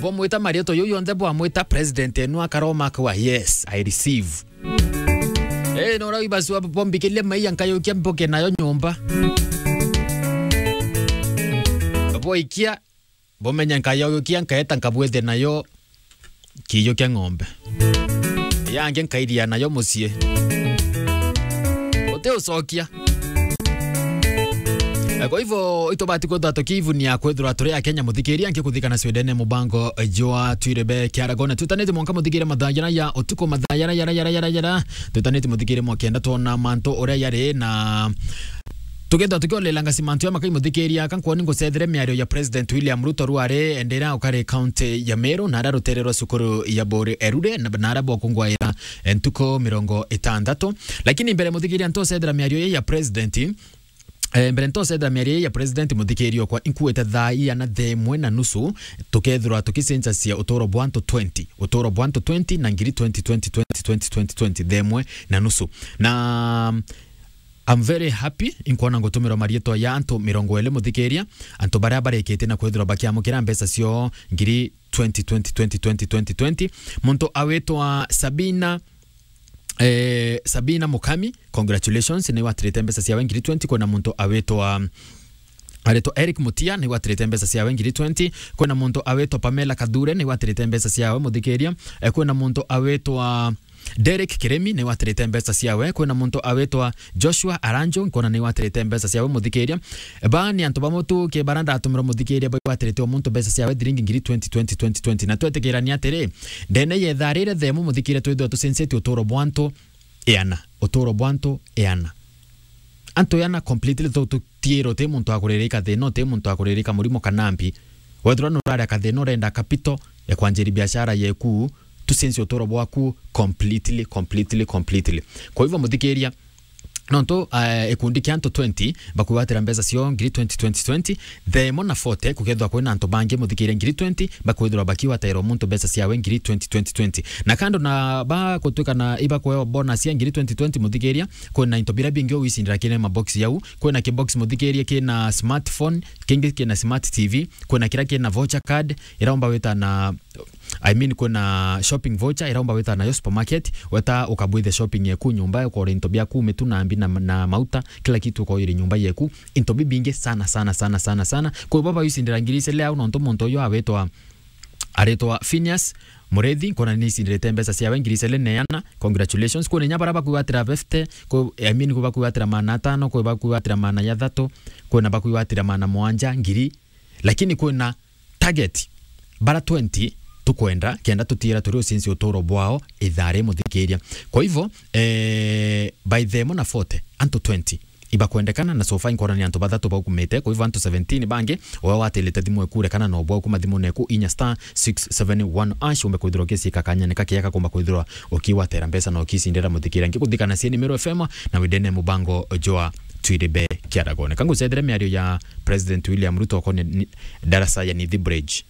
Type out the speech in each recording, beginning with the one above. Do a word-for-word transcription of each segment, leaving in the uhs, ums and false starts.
Bwamwita marietwa jau jonthe, bwamwita president enu akaroma akauga, "Yes, I receive." Eh, nora ibasua bombikirie maiya nkayukia mboke nayo nyomba. Boikia, bomenye nkayukia nkaeta nkabwithia nayo kiijo kia ng'ombe. Yangi nkairia nayo mucii. Uti ucokia. Eh, kwa hivyo, itubati kwithirwa tukiivunia kwithirwa turi Akenya, muthikiria, nkikuthikana Sweden, mubango jwa Twirebe Kiaragone. Twitanite mwanka muthikiria mathaa jana ya utuku, mathaa jara, jara, jara, jara, jara. Twitanite muthikiria mwa kenda twona mantu uria yari na tukethirwa tukiolela ngasi mantu ya makai muthikiria, ka nkwoni ngucethere miario ya President William Ruto rwari endera ukari county ya Meru, na ara rutere rwa cukuru ya Bori Erure, na, na ara bwakungwaira ntuku mirongo itandatu. Lakini mbere muthikiria ntucethera miario ya President, eh, mbere ntucethera miario ya President muthikiria okwa, inkuite thaa iana thaa imwe na nusu, tukethirwa tukicenjacia uturo bwa antu twenty, uturo bwa antu twenty na ngiri twenty, twenty, twenty, twenty, twenty, twenty, thaa imwe na nusu. Na I'm very happy, inkwona ngutumirwa marietwa ya antu mirongo iri muthikiria, antu baria barikitie na kwithirwa bakiamukira mbeca cio ngiri twenty, twenty, twenty, twenty, twenty, twenty. Muntu awitwa Sabina, eh, Sabina Mukami, congratulations, ni watirite mbeca ciawe ngiri twenty. Kwina muntu awitwa, aritwa Eric Mutia, ni watirite mbeca ciawe ngiri twenty. Kwina muntu awitwa Pamela Kathure, ni watirite mbeca ciawe muthikiria. Eh, kwina muntu awitwa Derek Kiremi, ni watirite mbeca ciawe. Kwina muntu awitwa Joshua Aranjo, nkona ni watirite mbeca ciawe muthikiria. Ba ni antu bamwe tu ki bara ndatumirwa muthikiria, ba watirite o muntu mbeca ciawe thiringi ngiri twenty, twenty, twenty, twenty. Na twetikirania atiri, ndene yetha rire themu muthikiria, twithirwa tucencetie uturo bwa antu iana, uturo bwa antu iana. Antu iana completely, tu-, tutiirwo ti muntu akuririka thina, ti muntu akuririka murimo kana mbi. Wethirwa nuraria kathina urenda capital ya kwanjiria biashara yeku, tucencie uturo bwaku completely, completely, completely. Kwa hivyo muthikiria, nontu, eh, ikundi kia antu twenty bakwigwatira mbeca cio ngiri twenty, twenty, twenty, themo na forty kukethirwa kwina antu bangi muthikiria ngiri twenty bakwithirwa bakiwatairwa muntu mbeca ciawe ngiri twenty, twenty, twenty. Na kando na ba gutwika na ibakuewa bonus ya ngiri twenty twenty muthikiria, kwina into biria bingi ugwicindira kiri mabox yau. Kwina kibox muthikiria kina smartphone, kingi kina smart T V, kwina kiria kina voucher card, iraumba wita na, I mean, kwina shopping voucher, iraumba wita nayo supermarket, weta ukabwithe shopping yeku nyumba, ukore into biaku, mitu na mbi na, na mauta, kila kitu ukoire nyumba yeku, into bibingi sana, sana, sana, sana, sana. Kwa hivyo baba wicindira ngiri icele au, nontu muntu uyu awitwa, aritwa Phineas Murethi, nkona ni icindirite mbeca ciawe ngiri icele na iana. Congratulations. Kwina inya bara bakwigwatira fifty, kwi, I mean, kwi bakwigwatira maana atano, kwi bakwigwatira maana ya thatu, kwina bakwigwatira maana mwanja, ngiri. Lakini kwina target, bara twenty tukwenda, kenda tutiira turi ucinci uturo bwao ithari muthikiria. Kwa hivyo, eh, by them na forty, antu twenty ibakwendekana, na so far inkwona ni antu bathatu baukumite. Kwa hivyo antu seventeen bangi, uwe watilite thimu eku, rekana na ubwa ukuma thimu neku, inya star six seven one hash, umbe kwithirwa ukicika kanyene kakia kakumba kwithirwa ukiwatera mbeca na ukicindira muthikiria. Ngikuthikana cie ni Meru F M na windene mubango jwa Twiribe Kiaragone. Kangucethire miario ya President William Ruto okone ni, darasa ya Nithi Bridge.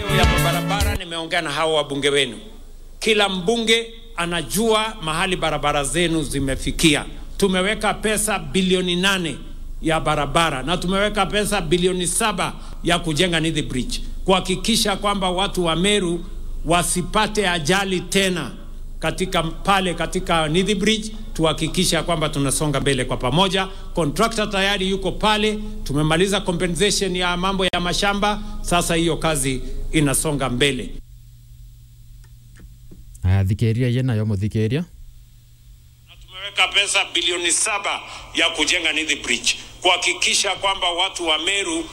Leo ya barabara, nimeongea na hao wabunge wenu. Kila mbunge anajua mahali barabara zenu zimefikia. Tumeweka pesa bilioni nane ya barabara na tumeweka pesa bilioni saba ya kujenga Nithi Bridge, kuhakikisha kwamba watu wa Meru wasipate ajali tena katika pale, katika Nithi Bridge, tuhakikisha kwamba tunasonga mbele kwa pamoja. Contractor tayari yuko pale, tumemaliza compensation ya mambo ya mashamba, sasa hiyo kazi inasonga mbele. Aya, thikiria ye nayo muthikiria. Na tumeweka pesa bilioni saba ya kujenga Nithi Bridge, kuhakikisha kwamba watu wa Meru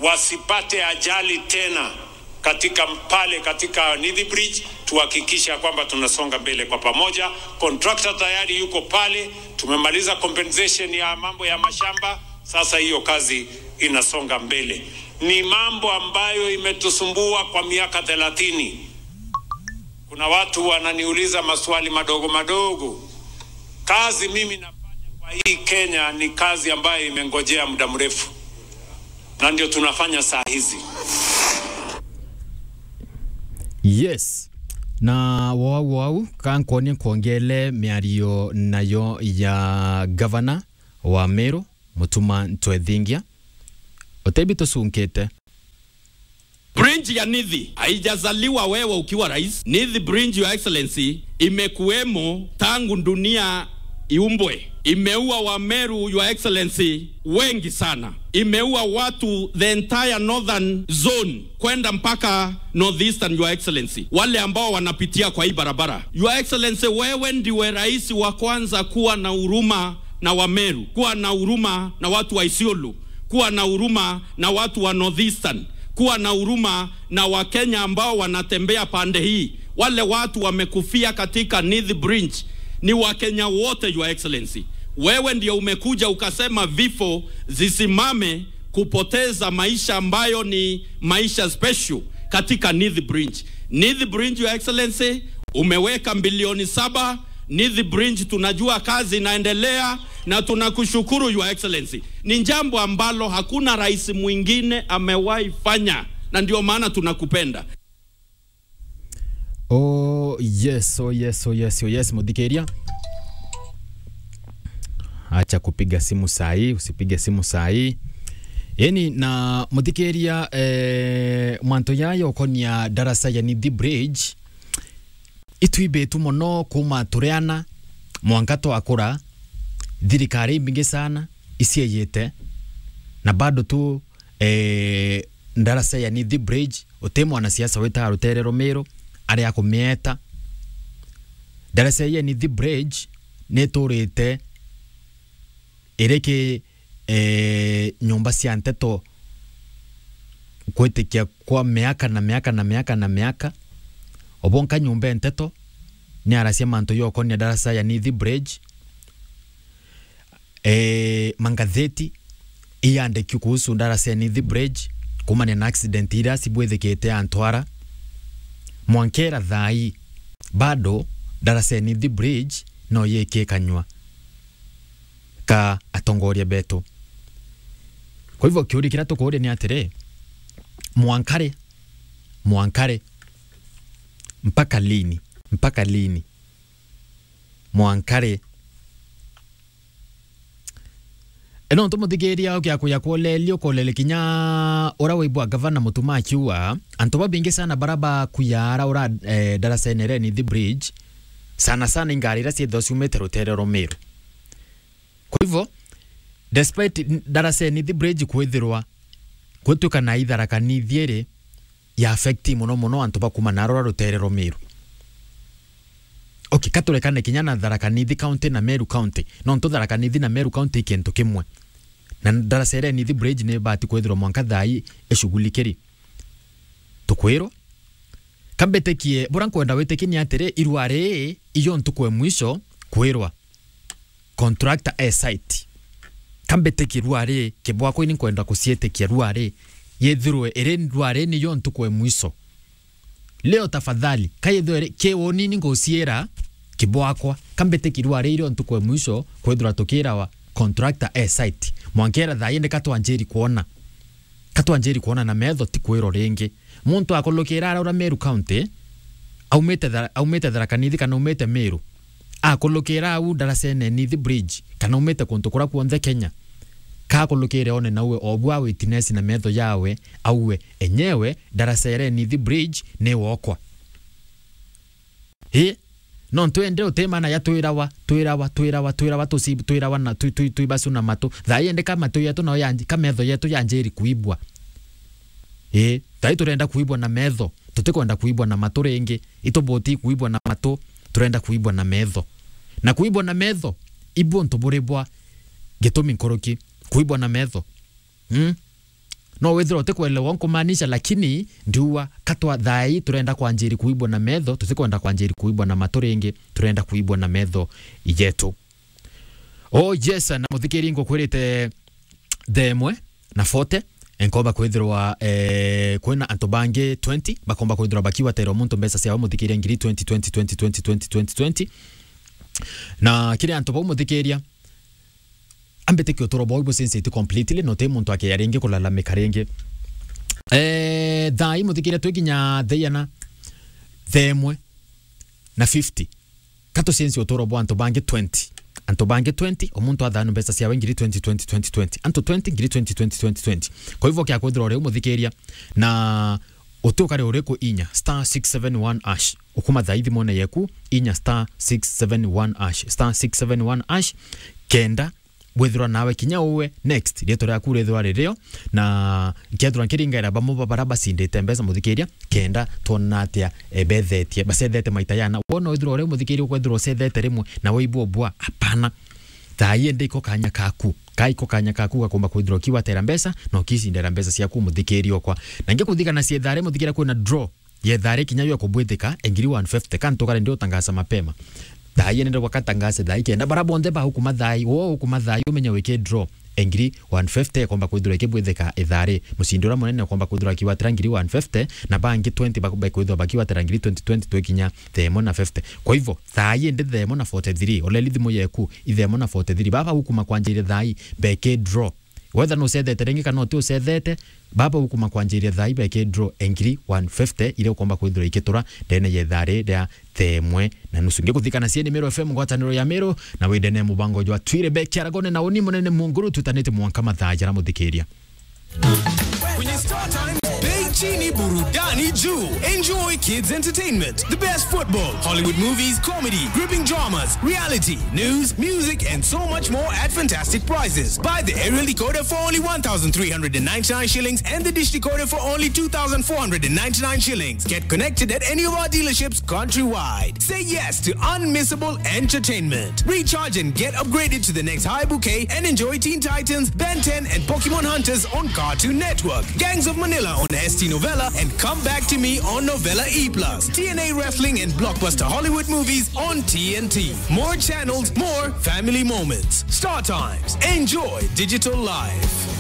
wasipate ajali tena katika pale, katika Nithi Bridge, tuhakikisha kwamba tunasonga mbele kwa pamoja. Contractor tayari yuko pale, tumemaliza compensation ya mambo ya mashamba, sasa hiyo kazi inasonga mbele. Ni mambo ambayo imetusumbua kwa miaka thelathini. Kuna watu wananiuliza maswali madogo madogo. Kazi mimi nafanya kwa hii Kenya ni kazi ambayo imengojea muda mrefu. Na ndio tunafanya saa hizi. Yes. Na wau wau, kankonie nkwongele miario nayo ya gavana wa Meru, Mutuma Ntwethingia. Utebi tucunkite. Bridge ya Nithi haijazaliwa wewe ukiwa rais. Nithi Bridge, Your Excellency, imekuwemo tangu dunia iumbwe. Imeua Wameru, Your Excellency, wengi sana. Imeua watu, the entire northern zone, kwenda mpaka northeastern, Your Excellency, wale ambao wanapitia kwa hii barabara. Your Excellency, wewe ndiwe rais wa kwanza kuwa na huruma na Wameru, kuwa na huruma na watu wa Isiolo, kuwa na huruma na watu wa northeastern, kuwa na huruma na Wakenya ambao wanatembea pande hii. Wale watu wamekufia katika Nithi Bridge ni Wakenya wote, Your Excellency. Wewe ndio umekuja ukasema vifo zisimame kupoteza maisha ambayo ni maisha special katika Nithi Bridge. Nithi Bridge, Your Excellency, umeweka bilioni saba. Nithi Bridge, tunajua kazi inaendelea na tunakushukuru, Your Excellency. Ni jambo ambalo hakuna rais mwingine amewahi fanya, na ndio maana tunakupenda. Oh yes, oh yes, oh yes, oh yes, muthikiria. Acha kupiga simu saa hii, usipige simu saa hii. Yani, na muthikiria, eh, mantu yaya ukonia darasa ya Nithi Bridge, itwibitu mono kuma turiana mwanka twakura, thirikari imbingi sana icieyite, na bado tu eh, ndarasa ya Nithi Bridge, uti mwanasiasa witaga Rutere Rumiru ari akumieta. Ndarasa ya Nithi Bridge niturite iriki, eh, nyumba cia nteto kwitikia kwa miaka na miaka na miaka na miaka. Obonka nyumba ya nteto ni arasia mantu yokonia ndarasa ya Nithi Bridge. Eh, mangatheti iyandikio kuhusu ndarasa ya Nithi Bridge, kumania na accident iria cibwithikite Antwara. Mwankera thaa ii, bado ndarasa ya Nithi Bridge no yikikanywa ka atongoria betu. Kwa hivyo, kiuria kiria tukuuria ni atiri, mwankari, mwankari, mpaka lini? Mpaka lini? Mwankari. E, no ntu muthikiria ukia kuya kuolelia, ukolelia kinya uria waigua gavana Mutuma akiuga, antu babingi sana bara bakuya ara ura, eh, ndarasene ria Nithi Bridge, sana sana ingari iria ciithagwa ciumite rutere rwa Meru. Kwa hivyo, despite n-, ndarasene Nithi Bridge kwithirwa gwituika na i Tharaka Nithi iri, ya affect mono mono antu ba kuma na rura rutere rwa Meru. Okay, ka turekane kinya na Tharaka Nithi County na Meru County. Nontu Tharaka Nithi na Meru County i kintu kimwe. Na ndarasene Nithi Bridge ni ibati kwithirwa mwanka thaa ii ishughulikiri. Tukwirwa. Ka mbitikie, bura nkwenda witikie ni atiri, irua rii iyo ntuku e mwisho kwirwa contractor e site. Ka mbitikie rua ri, kibwakwa ini nkwenda kuciitikia rua ri, yithirwe iri rua ri niyo ntuku e mwisho. Leo tafadhali, ka yithirwe ri, ki unini nguciira kibwakwa, ka mbitikie rua ri irio ntuku e mwisho, kwithirwa tukirawa contractor e site. Mwankera thaa indi ka twanjiri kwona. Ka twanjiri kwona na metho ti kwirwa ringi. Muntu akulukira ara ura Meru County, aumite Thara-, aumite Tharaka Nithi kana aumite Meru, akulukira au ndarasene Nithi Bridge, kana aumite kuntu kuria kuonthe Kenya, ka akulukire one nawe obu a witness na metho yawe, auwe enyewe ndarasene Nithi Bridge ni wokwa. Ii, no ntwende utemana ya twirawa, twirawa, twirawa, twirawa, tuci-, twirawa na twi-, twi-, twibacu na matu. Thaa ii indi ka matu yetu nao yanji-, ka metho yetu yanjiri kuibwa. Ii, thaa ii turenda kuibwa na metho, tutikwenda kuibwa na matu ringi. Itubuti kuibwa na matu, turenda kuibwa na metho. Na kuibwa na metho, ibu untu buri bwa gitumi nkuruki. Kuibwa na metho. Mm? No withirwa utikwelewa nkumaanisha, lakini ndiuga ka twa thaa ii turenda kwanjiri kuibwa na metho, tutikwenda kwanjiri kuibwa na matu ringi, turenda kuibwa na metho yetu. Oh yes, na muthikiri ngukwirite thaa imwe na forty, enkomba kwithirwa, eh, kwina antu bangi twenty, bakomba kwithirwa bakiwaterwa muntu mbeca ciao muthikiria ngiri twenty, twenty, twenty, twenty, twenty, twenty, twenty. Na kiri antu bau muthikiria, ambitikia uturo bwao ibucenjite completely, na uti muntu akeya ringi kulalamika ringi. Eh, thaa ii muthikiria twi kinya thaa iana, thaa imwe na fifty. Ka tucenjie uturo bwa antu bangi twenty. Antu bangi twenty, o muntu athaanue mbeca ciawe ngiri twenty, twenty, twenty, twenty. Antu twenty, ngiri twenty, twenty, twenty, twenty. Kwa hivyo, kia kwithirwa uri umuthikiria, na Uti ukari uriku, inya star six seven one hash. Ukuma thaa ii thimone yeku, inya star six seven one hash, star six seven one hash, kenda bwithirwa nawe kinya uwe next, rietwa riaku rithirwa ririo, na kethirwa nkiringaira bamwe ba bara bacindite mbeca, muthikiria, kenda twona atia, e, bethetie, bacethete maita yana. Wona withirwa uri muthikiria ukwithirwa ucethete rimwe na waibua bua, apana. Thaa ii indi iko kanya kaku. Kai ko kanya kaku gakomba kwithirwa ukiwatera mbeca, na ukicindera mbeca ciaku, muthikiria okwa. Na ngikuthigana cietha ri, muthikiria, kwina draw yetha ri kinya yo kubwithika, e ngiri one fifty, ka ntukare ndi utangaza mapema. Thaa ii nende gwaka tangaze thaa ii kenda bara bonthe ba ukuma thaa ii, wo ukuma thaa ii, umenya wiki draw e ngiri one fifty ikomba kwithirwa ikibwithika ithaa ri. Mucindi uria munene ukomba kwithirwa akiwatira ngiri one fifty, na bangi twenty ba-, bakwithirwa bakiwatira ngiri twenty, twenty twikinya thaa imwe na fifty. Kwa hivyo, thaa ii ndi thaa imwe na forty-three, uleli thimu yeku, i thaa imwe na forty-three. Baba ukuma kwanjiria thaa ii, beke draw. Whether nucethete ringi kana uti ucethete, baba ukuma kwanjiria thaa ii beke draw e ngiri one fifty iria ukomba kwithirwa ikitura ndene ya ithaa ri ria thaa imwe na nusu. Ngikuthikana cie ni Meru F M, ngwataniro ya Meru, na windene mubango jwa Twire Beki Aragone na uni munene Munguru, tutanite mwanka mathaa jara, muthikiria. Kwenye Star Times, bei chini, burudani juu. Enjoy kids entertainment, the best football, Hollywood movies, comedy, gripping dramas, reality, news, music, and so much more at fantastic prices. Buy the aerial decoder for only one thousand three hundred and ninety-nine shillings and the dish decoder for only two thousand four hundred and ninety-nine shillings. Get connected at any of our dealerships countrywide. Say yes to unmissable entertainment. Recharge and get upgraded to the next high bouquet and enjoy Teen Titans, Ben ten, and Pokemon Hunters on Cartoon Network, Gangs of Manila on S T Novella, and Come Back to Me on Novella E plus, T N A Wrestling and blockbuster Hollywood movies on T N T. More channels, more family moments. Star Times. Enjoy digital life.